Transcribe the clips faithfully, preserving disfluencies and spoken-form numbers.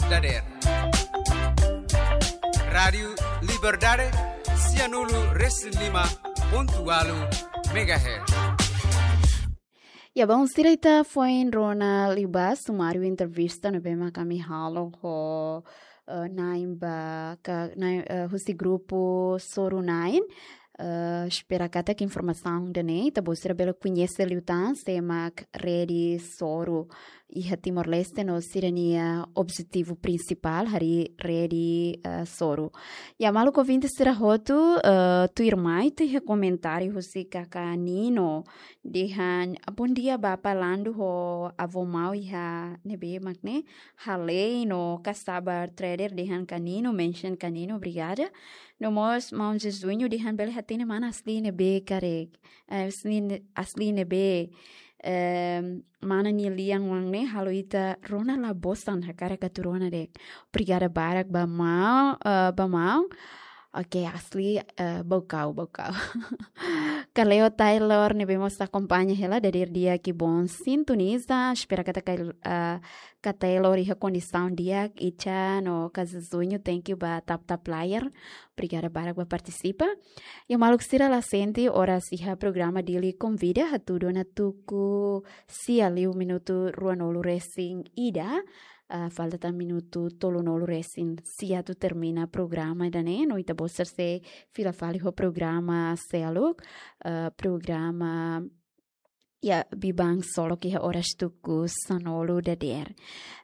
dadeer. Rádiu Liberdade, sianulu resin lima pontu ualu megahertz. Ya, bom, sira ita foin rona liubá sumáriu entrevista ne'ebé mak ami halo ho, eh, na'in ba ka, na'in, eh, husi grupu Soru na'in. Eh, espera katak informasaun ida-ne'e ita-boot sira bele koñese liután sé mak Rede Soru iha Timor-Leste no sira-nia objetivu prinsipál harii Rede, eh, Soru. Ya, maluk ouvinte sira hotu, eh, tuirmai ita iha komentáriu husi Kaka Nino dehan: "Bondia, Bapa Landu ho Avó Mau iha ne'ebé mak ne'e, Halei no Kasabar Trader." Dehan Kaka Nino, mention Kaka Nino, obrigada. No mós maun Jesuinho dehan bele hatene mana Asli ne'ebé karik. Eh, Asli ne-, Asli ne'ebé, eh, mana nia lian oan ne'e halo ita rona la bosan, hakarak atu rona de'it. Obrigada barak ba maun, eh, ba maun. Oke, Asli, eh, bokau, bokau. Kaleo Taylor ne'ebé mós akompaña hela dadeer di'ak, ki bom sintoniza. Espera katak, eh, Kaka Taylor iha kondisaun di'ak, Icha no Kaka Jesuinho, thank you ba tap tap layar. Obrigada barak ba partisipa. Ya, maluk sira, la sente oras iha programa Dili Konvida, hatudu ona tuku sia liu minutu ruanulu resin ida, ah, falta tan minutu tolunulu resin sia atu termina programa ida-ne'e, no ita-boot sira sei fila fali ho programa seluk, ah, programa ya, Biban Solok iha oras tuku sanulu dadeer.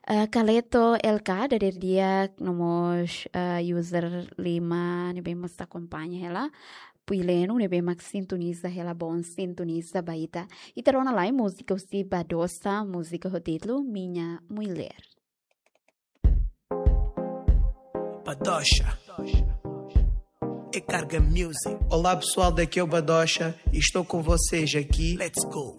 Eh, Kaleto L K dadeer di'ak, no mós, eh, user lima ne'ebé mós akompaña hela. Puileno ne'ebé mak sintoniza hela, bom sintoniza ba ita. Ita rona lai múzika husi Badosa, múzika ho títulu Minha Mulher. Badocha. É Carga Music. Olá, pessoal, daqui é o Badocha e estou com vocês aqui. Let's go.